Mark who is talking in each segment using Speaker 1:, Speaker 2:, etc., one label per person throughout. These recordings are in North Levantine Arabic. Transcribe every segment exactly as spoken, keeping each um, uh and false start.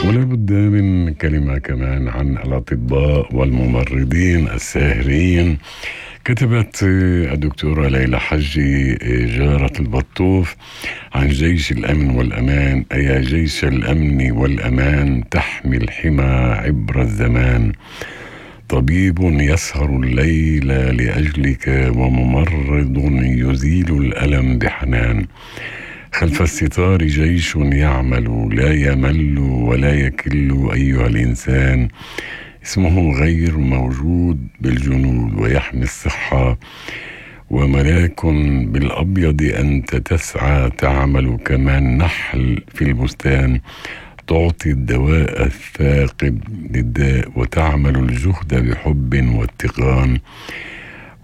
Speaker 1: ولا بد من كلمة كمان عن الأطباء والممرضين الساهرين. كتبت الدكتورة ليلى حجي جارة البطوف عن جيش الأمن والأمان: أيا جيش الأمن والأمان تحمي الحمى عبر الزمان، طبيب يسهر الليل لأجلك وممرض يزيل الألم بحنان، خلف الستار جيش يعمل لا يمل ولا يكل أيها الإنسان، اسمه غير موجود بالجنود ويحمي الصحة، وملاك بالأبيض أنت تسعى تعمل كمان نحل في البستان، تعطي الدواء الثاقب للداء وتعمل الجهد بحب واتقان،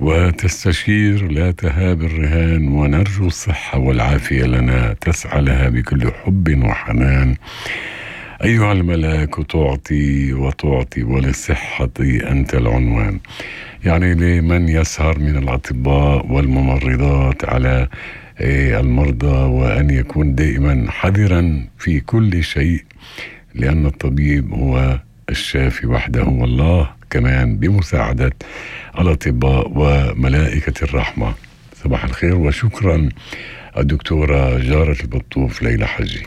Speaker 1: وتستشير لا تهاب الرهان، ونرجو الصحة والعافية لنا تسعى لها بكل حب وحنان، أيها الملاك تعطي وتعطي وللصحة أنت العنوان. يعني لمن يسهر من الأطباء والممرضات على المرضى وأن يكون دائما حذرا في كل شيء، لأن الطبيب هو الشافي وحده، والله كمان بمساعدة الأطباء وملائكة الرحمة. صباح الخير وشكرا الدكتورة جارة البطوف ليلى حجي.